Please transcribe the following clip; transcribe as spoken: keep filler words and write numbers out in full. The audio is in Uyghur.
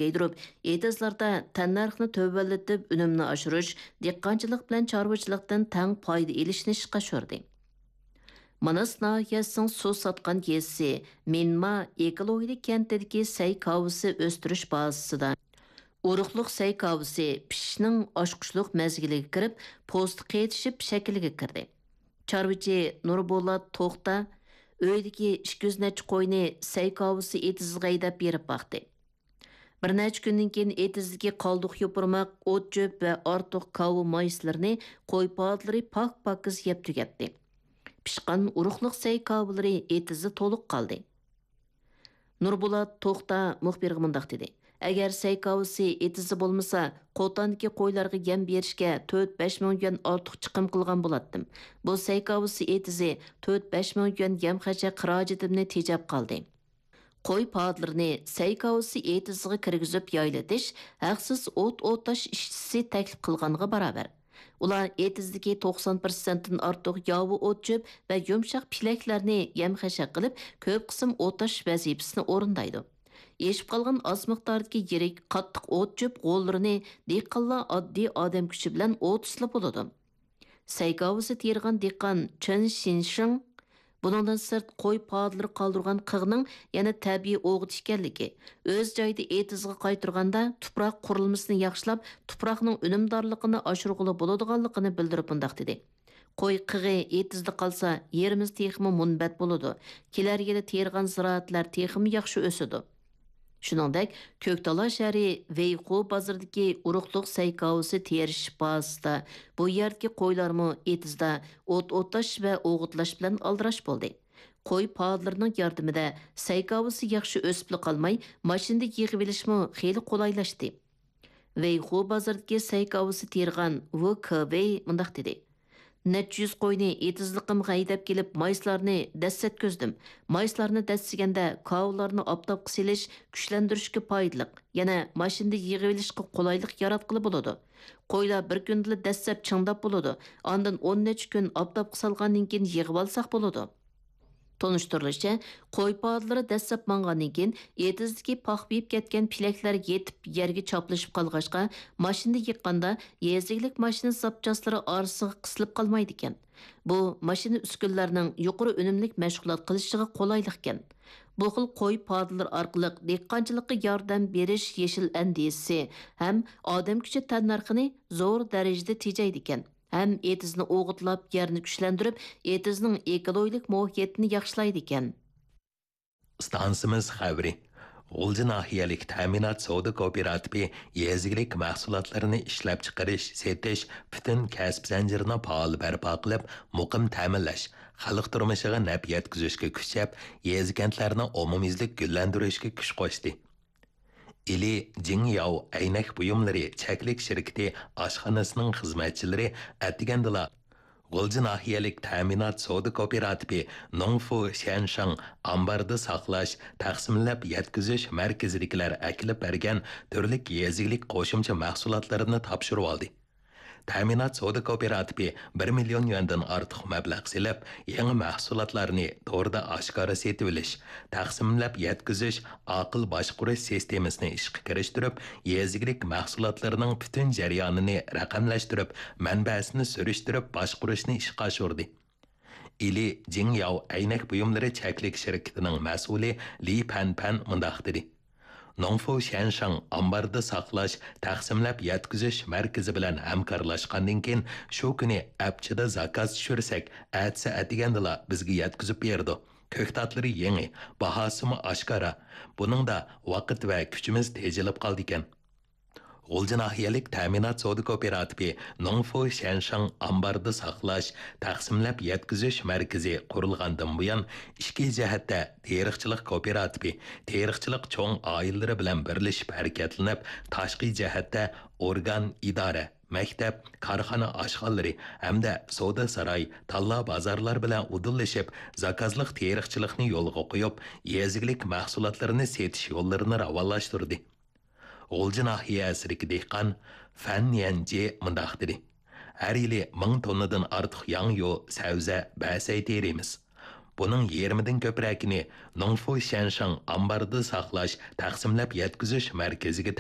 كېڭەيدۈرۈپ، ئېتىزلاردا تەننەرخنى تۆۋەنلىتىپ، ئۈنۈمنى ئاشۇرۇش، دېھقانچىلىق بىلەن چارۋىچىلىقتىن تەڭ پايدا ئېلىشنى ئىشقا ئاشۇردى. ماناس ناھىيەسىنىڭ سۇ ساتقان يېزىسى مىنما ئېكولوگىيە كەنتىدىكى سەي كاۋىسى ئۆستۈرۈش بازىسىدا ئۇرۇقلۇق سەي كاۋىسى پىشىشنىڭ ئاچقۇچلۇق مەزگىلىگە كىرىپ، پوستى قېتىشىپ شەكىلگە كىردى. چارۋىچى نۇربولات توختا ئۆيىدىكى ئىككى يۈز نەچچە قوينى سەي كاۋىسى ئېتىزىغا ھەيدەپ بېرىپ باقتى. بىر نەچچە كۈندىن كېيىن ئېتىزدىكى قالدۇق يوپۇرماق، ئوت-چۆپ ۋە ئارتۇق كاۋا مايسىلىرىنى قوي پادىلىرى پاك-پاكىز يەپ تۈگەتتى. پىشقان ئۇرۇقلۇق سەي كاۋىلىرى ئېتىزدا تولۇق قالدى. نۇربولات توختا مۇخبىرغا مۇنداق دېدى: «ئەگەر سەي كاۋىسى ئېتىزدا بولمىسا، قوتاندىكى قويلارغا يەم بېرىشكە تۆت بەش مىڭ يۈەن ئارتۇق چىقىم قىلغان بولاتتىم. بۇ سەي كاۋىسى ئېتىزى تۆت بەش مىڭ يۈەن يەم-خەشەك خىراجىتىمنى تېجەپ قالدى.» قوي پادىلىرىنى سەي كاۋىسى ئېتىزىغا كىرگۈزۈپ يايلىتىش ھەقسىز ئوت ئوتاش ئىشچىسى تەكلىپ قىلغانغا باراۋەر. ئۇلار ئېتىزدىكى توقسان پىرسەنتتىن ئارتۇق ياۋا ئوت-چۆپ ۋە يۇمشاق پىلەكلەرنى يەم-خەشەك قىلىپ، كۆپ قىسىم ئوتاش ۋەزىپىسىنى ئورۇندايدۇ. ئېشىپ قالغان ئاز مىقداردىكى يىرىك، قاتتىق ئوت-چۆپ غوللىرىنى دېھقانلار ئاددىي ئادەم كۈچى بىلەن ئوتۇسلا بولىدۇ. سەي كاۋىسى تېرىغان دېھقان چېن شىنشىڭ بۇنىڭدىن سىرت، قوي پادىلىرى قالدۇرغان قىغنىڭ يەنە تەبىئىي ئوغۇت ئىكەنلىكى، ئۆز جايىدا ئېتىزغا قايتۇرغاندا، تۇپراق قۇرۇلمىسىنى ياخشىلاپ، تۇپراقنىڭ ئۈنۈمدارلىقىنى ئاشۇرغىلى بولىدىغانلىقىنى بىلدۈرۈپ مۇنداق دېدى: «قوي قىغى ئېتىزدا قالسا، يېرىمىز تېخىمۇ مۇنبەت بولىدۇ. كېلەر يىلى تېرىغان زىرائەتلەر تېخىمۇ ياخشى ئۆسىدۇ.» شۇنىڭدەك، كۆكتالا شەھىرى ۋېيخۇ بازىرىدىكى ئۇرۇقلۇق سەي كاۋىسى تېرىش بازىسىدا بۇ يەردىكى قويلارمۇ ئېتىزدا ئوت ئوتاش ۋە ئوغۇتلاش بىلەن ئالدىراش بولدى. قوي پادىلىرىنىڭ ياردىمىدە سەي كاۋىسى ياخشى ئۆسۈپلا قالماي، ماشىنىدا يىغىۋېلىشمۇ خېلى قولايلاشتى. ۋېيخۇ بازىرىدىكى سەي كاۋىسى تېرىغان ۋۇ كېۋېي مۇنداق دېدى: «نەچچە يۈز قوينى ئېتىزلىقىمغا ھەيدەپ كېلىپ، مايسىلارنى دەسسەتكۈزدۈم. مايسىلارنى دەسسىگەندە، كاۋىلارنى ئاپتاپقا سېلىش، كۈچلەندۈرۈشكە پايدىلىق، يەنە ماشىنىدا يىغىۋېلىشقا قولايلىق ياراتقىلى بولىدۇ. قويلار بىر كۈندىلا دەسسەپ چىڭداپ بولىدۇ. ئاندىن ئون نەچچە كۈن ئاپتاپقا سالغاندىن كېيىن يىغىۋالساق بولىدۇ.» تونۇشتۇرۇلۇشىچە، قوي پادىلىرى دەسسەپ ماڭغاندىن كېيىن، ئېتىزدىكى پاخپىيىپ كەتكەن پىلەكلەر يېتىپ يەرگە چاپلىشىپ قالغاچقا، ماشىنىدا يىغقاندا، يېزا ئىگىلىك ماشىنا زاپچاسلىرى ئارىسىغا قىسىلىپ قالمايدىكەن. بۇ ماشىنا ئۈسكۈنىلەرنىڭ يۇقىرى ئۈنۈملۈك مەشغۇلات قىلىشىغا قولايلىقكەن. بۇ خىل قوي پادىلىرى ئارقىلىق دېھقانچىلىققا ياردەم بېرىش يېشىل ئەندىزىسى ھەم ئادەم كۈچى تەننەرخىنى زور دەرىجىدە تېجەيدىكەن. ھەم ئېتىزنى ئوغۇتلاپ، يەرنى كۈچلەندۈرۈپ، ئېتىزنىڭ ئېكولوگىيەلىك مۇھىتىنى ياخشىلايدىكەن. ئىستانسىمىز خەۋىرى. غۇلجا ناھىيەلىك تەمىنات سودا كوپىراتىپى يېزا ئىگىلىك مەھسۇلاتلىرىنى ئىشلەپچىقىرىش، سېتىش، پۈتۈن كەسىپ زەنجىرىنى پائال بەرپا قىلىپ، مۇقىم تەمىنلەش، خەلق تۇرمۇشىغا نەپ يەتكۈزۈشكە كۈچەپ، يېزا-كەنتلەرنى ئومۇميۈزلۈك گۈللەندۈرۈشكە كۈچ قوشتى. ئىلى جىڭياۋ ئەينەك بۇيۇملىرى چەكلىك شىركىتى ئاشخانىسىنىڭ خىزمەتچىلىرى ئەتىگەندىلا غۇلجا ناھىيەلىك تەمىنات سودا كوپىراتىپى نوڭفۇ شيەنشاڭ ئامباردا ساقلاش، تەقسىملەپ يەتكۈزۈش مەركىزىدىكىلەر ئەكېلىپ بەرگەن تۈرلۈك يېزا ئىگىلىك قوشۇمچە مەھسۇلاتلىرىنى تاپشۇرۇۋالدى. تەمىنات سودا كوپىراتىپى بىر مىليون يۈەندىن ئارتۇق مەبلەغ سېلىپ، يېڭى مەھسۇلاتلارنى توردا ئاشكارا سېتىۋېلىش، تەقسىملەپ يەتكۈزۈش، ئاقىل باشقۇرۇش سىستېمىسىنى ئىشقا كىرىشتۈرۈپ، يېزا ئىگىلىك مەھسۇلاتلىرىنىڭ پۈتۈن جەريانىنى رەقەملەشتۈرۈپ، مەنبەسىنى سۈرۈشتۈرۈپ باشقۇرۇشنى ئىشقا ئاشۇردى. ئىلى جىڭياۋ ئەينەك بۇيۇملىرى چەكلىك شىركىتىنىڭ مەسئۇلى لى پەنپەن مۇنداق دېدى: نوڭفۇ شيەنشاڭ ئامباردا ساقلاش، تەقسىملەپ يەتكۈزۈش مەركىزى بىلەن ھەمكارلاشقاندىن كېيىن، شۇ كۈنى ئەپچىدە زاكاز چۈشۈرسەك، ئەتىسى ئەتىگەندىلا بىزگە يەتكۈزۈپ بېرىدۇ. كۆكتاتلىرى يېڭى، باھاسىمۇ ئاشكارا. بۇنىڭدا ۋاقىت ۋە كۈچىمىز تېجىلىپ قالىدىكەن. غۇلجا ناھىيەلىك تەمىنات سودا كوپىراتىپى نوڭفۇ شيەنشاڭ ئامباردا ساقلاش، تەقسىملەپ يەتكۈزۈش مەركىزى قۇرۇلغاندىن بۇيان، ئىچكى جەھەتتە تېرىقچىلىق كوپىراتىپى، تېرىقچىلىق چوڭ ئائىلىلىرى بىلەن بىرلىشىپ ھەرىكەتلىنىپ، تاشقى جەھەتتە ئورگان، ئىدارە، مەكتەپ، كارخانا ئاشخانىلىرى ھەمدە سودا ساراي، تاللا بازارلار بىلەن ئۇدۇللىشىپ، زاكازلىق تېرىقچىلىقنى يولغا قويۇپ، يېزا ئىگىلىك مەھسۇلاتلىرىنى سېتىش يوللىرىنى راۋانلاشتۇردى. غۇلجا ناھىيەسىدىكى دېھقان فەن يەنجى مۇنداق دېدى: ھەر يىلى مىڭ توننىدىن ئارتۇق ياڭيۇ، سەۋزە، بەسەي تېرىيمىز. بۇنىڭ يېرىمىدىن كۆپرەكىنى نۇڭفۇ شيەنشىڭ ئامباردا ساقلاش، تەقسىملەپ يەتكۈزۈش مەركىزىگە